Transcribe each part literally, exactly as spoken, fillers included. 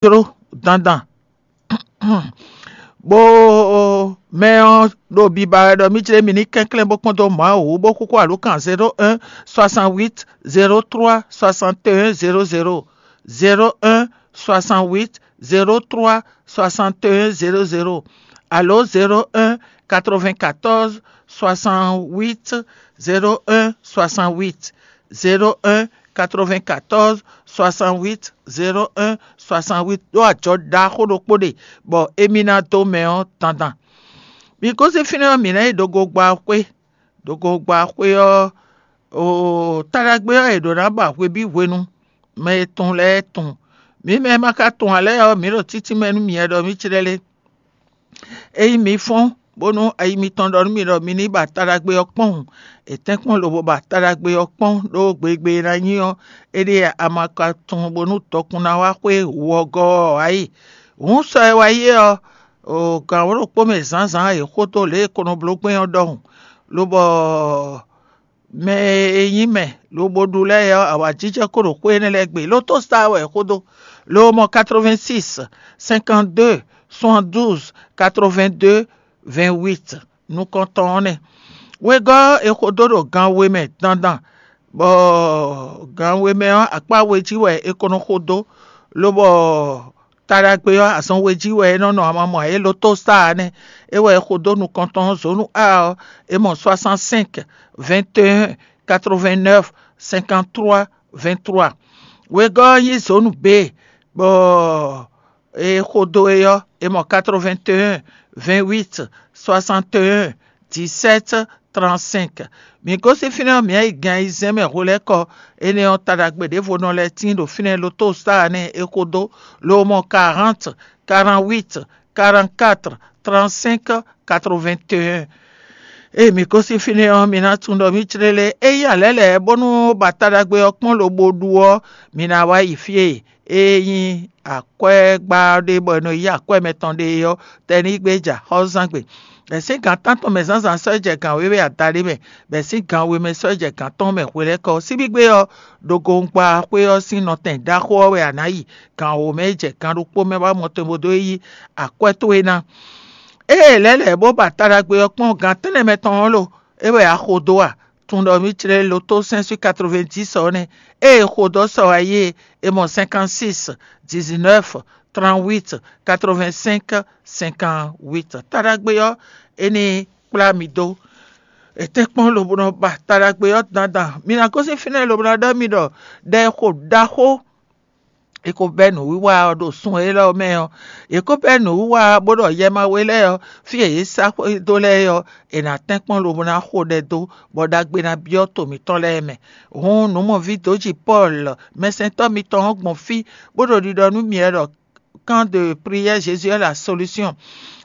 jló dandan. Bó mɛ ɔ́ ɖo biba wɛ ɖɔ mì jlé mì ní kɛnklɛ́n bó kpɔ́n dó Mawu wú bó xúxú alǒkan zéro un soixante huit zéro trois soixante et un zéro zéro, zéro un soixante huit zéro trois soixante et un zéro zéro, alo zéro un quatre-vingt-quatorze soixante-huit zéro un soixante-huit, zéro un quatre-vingt-quatorze soixante-huit zéro un soixante-huit ɖó ajɔ ɖaxó ɖokpó ɖe, bɔ émí ná dó mɛ ɔ́ dandan. Mi gosín fínɛ́ ɔ́, mǐ ná yi ɖo gogba xwé. Ɖo gogba xwé ɔ́, o taɖagbe ɔ́, è ɖǒ ná ba hwebǐ hwenu. Mɛ e tunwun lɛ́ɛ tunwun. Mǐ mɛ e ma ka tunwun ǎ lɛ́ɛ ɔ́, mǐ ɖo títí mɛ nú mi wɛ ɖɔ mǐ clɛ́ lé. Ényí mi fɔ́n bónú ayi mitɔn ɖɔ nú mi ɖɔ mi ní ba taɖagbe ɔ́ kpɔ́n hǔn, è tɛ́nkpɔ́n lobo ba taɖagbe ɔ́ kpɔ́n ɖó gbegbe e ná nyí ɔ́, é ɖíe a ma ka tunwun bónú dɔkun ná wá xwé wǔwɔgɔ́ ɔ́ ǎ yi. Hǔn sɔ e wá yi é ɔ́, o gǎn wǒ ɖokpó mɛ zǎnzǎn è xó dó lě e è ko nɔ bló gbɛn ɔ́ ɖɔhun, lobɔ mɛ e nyí mɛ lobo ɖu lɛ́ɛ ɔ́, awǎjijɛ ko ɖo xwé énɛ́ lɛ́ɛ gbe. Lotostar wɛ è xó dó. Lo mɔ quatre-vingt-six cinquante-deux soixante-douze quatre-vingt-deux vingt-huit nukɔntɔn ɔ́ nɛ́. Wegɔ́ ɔ́, è xo dó ɖo gan we mɛ dandan, bɔ gan we mɛ ɔ́, akpá we jí wɛ è ko nɔ xo dó, lobɔ taɖagbe ɔ́, azɔn we jí wɛ é nɔ nɔ amamɔ ǎ. É lotostar ɔ́ nɛ́. É wɛ è xo dó nukɔntɔn ɔ́, zǒnu A ɔ́, è mɔ soixante-cinq vingt et un quatre-vingt-neuf cinquante-trois vingt-trois. Wegɔ́ ɔ́ nyí zǒnu B, bɔ è xo dó é ɔ́, è mɔ quatre-vingt-un vingt-huit soixante-un dix-sept trente-cinq. Mǐ gosín fínɛ́ ɔ́, mǐ yi gan ayizɛ́n mɛ hwelɛ́kɔ. Énɛ́ ɔ́, taɖagbe ɖěvo nɔ lɛ́ tíin ɖo fínɛ́ lotostar nɛ́ è xo dó, lo mɔ quarante, quarante-huit, quarante-quatre, trente-cinq, quatre-vingt-un. Ée mǐ gosín fínɛ́ ɔ́, mi ná tunwun ɖɔ mǐ clé lé. Ényí a lɛ̌ lɛ̌ bónú ba taɖagbe ɔ́ kpɔ́n lobo ɖu ɔ́, mi ná wá yi fí e é nyí akwɛ́gbá ɖé bɔ è nɔ yí akwɛ́ mɛtɔn ɖe é ɔ́, tɛnígbe ja xɔ́zán gbe. Bɛ̌ sín gǎn tántɔn mɛ zǎnzǎn sɔ́ jɛ gǎn wěwe adaɖé mɛ, bɛ̌ sín gǎn we mɛ sɔ́ jɛ gǎn tɔn mɛ hwelɛ́kɔ. Síbígbe ɔ́, ɖo gongba xwé ɔ́ sín nɔtɛn ɖaxó ɔ́ wɛ a nǎ yi. Gan wǒ mɛ jɛ gan ɖokpó mɛ wá mɔtɛn bó dó yi akwɛ́ towe ná. Ée lɛ̌ lɛ̌ bó ba taɖagbe ɔ́ kpɔ́n gan tɛ́nnɛ mɛ tɔn ɔ́ lo, é wɛ a xo dó a? Tunwun ɖɔ mǐ clé loto sɛ́n sín quatre-vingt-dix ɔ́ nɛ́. Ée xo dó sɔ wá yi é, è mɔ cinquante-six dix-neuf trente-huit quatre-vingt-cinq cinquante-huit. Taɖagbe ɔ́, é ní kplá mi dó. È tɛ́nkpɔ́n lobo nɔ ba taɖagbe ɔ́ dandan. Mi ná gosín fínɛ́ lobo ná ɖɔ mi ɖɔ ɖɛ e xo ɖaxó è ko bɛ́ nǔwiwa ɔ́ ɖo sun élɔ́ mɛ ɔ́, è ko bɛ́ nǔwiwa bó ɖɔ yɛ ma we lɛ́ɛ ɔ́, fí e yě sá xwé dó lɛ́ɛ ɔ́, è nǎ tɛ́nkpɔ́n lobo ná xo ɖɛ dó, bɔ ɖagbe ná byɔ́ to mǐtɔn lɛ́ɛ mɛ. Hǔn nǔmɔví dǒji Pɔ́lu, mɛsɛntɔ́ mitɔn ɔ́ gbɔn fí, bó ɖo ɖiɖɔ nú mi wɛ ɖɔ camp de prière Jésus est la solution.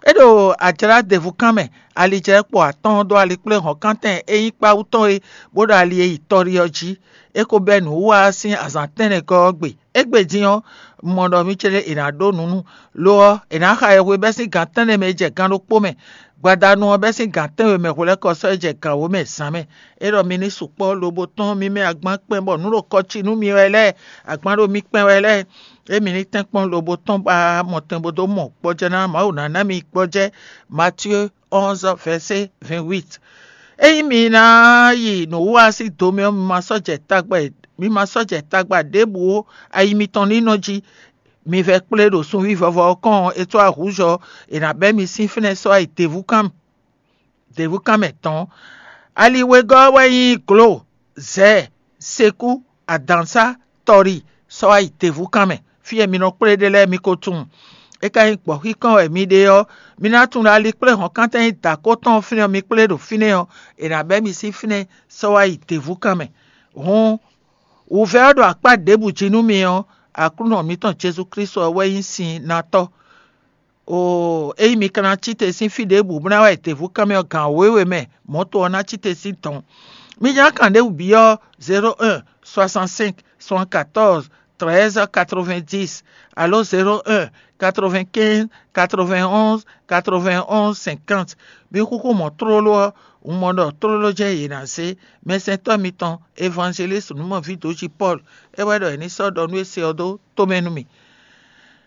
É ɖo ajlá ɖěvú kán mɛ, alijlɛ́kpo atɔ́ɔ́n dó alikpléhɔ̌nkántɛn e nyí kpáwú tɔn é, bó ɖo ali e yi tɔ́ɖi ɔ́ jí. É ko bɛ́ nǔwiwa ɔ́ sín azǎn tɛ́nnɛgɔ́ ɔ́ gbe. Égbé din ɔ́, un mɔ ɖɔ mì céɖé è nǎ ɖó nǔ nú. Lo ɔ́, è nǎ xa yɛhwe bɛ́ sín gan tɛ́nnɛ mɛ e jɛ gan ɖokpó mɛ. Gbadanu ɔ́ bɛ́ sín gan tɛ́nwe mɛ hwelɛ́kɔ sɔ́ yi jɛ gan wǒ mɛ zǎn mɛ. É ɖɔ mi ní sukpɔ́ lobo tɔ́n mi mɛ agban kpɛn bɔ nǔ ɖo kɔ ci nú mi wɛ lɛ́ɛ, agban ɖo mi kpɛn wɛ lɛ́ɛ. Émí ní tɛ́nkpɔ́n lobo tɔn ba mɔtɛn bó dó mɔ gbɔjɛ́ ná Mawu ná ná mi gbɔjɛ́. Matyée onze verset vingt-huit. Ényí mi ná yi nǔwiwa sín do mɛ ɔ́, mi ma sɔ́ jɛ tagba mi ma sɔ́ jɛ tagba ɖěbǔ ó, ayi mitɔn ní nɔ jí. Mi vɛ kplé ɖo sunví vɔvɔ ɔ́ kɔn ɔ́, è có ahǔzɔ è nǎ bɛ́ mi sín fínɛ́ sɔ́ ayi děvúkan děvúkan mɛ tɔn. Ali wegɔ́ ɔ́ wɛ nyí glo, zɛ̌, sekú, adǎnsá, tɔli, sɔ́ wá yi děvúkan mɛ. Fí e mi nɔ kplé ɖe lɛ́ɛ mi ko tunwun. É ka nyí gbɔ̌xíkɔn wɛ mi ɖe ɔ́, mi ná tunwun ɖɔ ali kplé hɔ̌nkántɛn nyí dǎkó tɔn ɔ́ fínɛ́ ɔ́, mi kplé ɖo fínɛ́ ɔ́, è nǎ bɛ́ mi sín fínɛ́ sɔ́ wá yi děvúkan mɛ. Hǔn, wǔvɛ́ ɔ́ ɖo akpá ɖěbǔ jí nú mi ɔ́, Aklúnɔ mǐtɔn Jezu Klísu ɔ́ wɛ nyí sin ná tɔ́. Oo, ényí mi ka ná cí te sín fí ɖěbǔ bó ná wá yi děvúkan mɛ ɔ́, gǎn wěwe mɛ mɔ̌to ɔ́ ná cí te sín dɔ̌n. Mi ján kan ɖěbǔ byɔ́ zéro un soixante-cinq soixante-quatorze treize quatre-vingt-dix alo zéro un quatre-vingt-quinze quatre-vingt-onze quatre-vingt-onze cinquante. Mi xúxú mɔ̌ tlóló ɔ́, un mɔ ɖɔ tlóló jɛ́n yě ná zé. Mɛsɛntɔ́ mitɔn, evangelísi nǔmɔví dǒjí Pɔ́lu, é wɛ ɖɔ è ní sɔ́ ɖɔ nú é se ɔ́ dó tomɛ nú mì.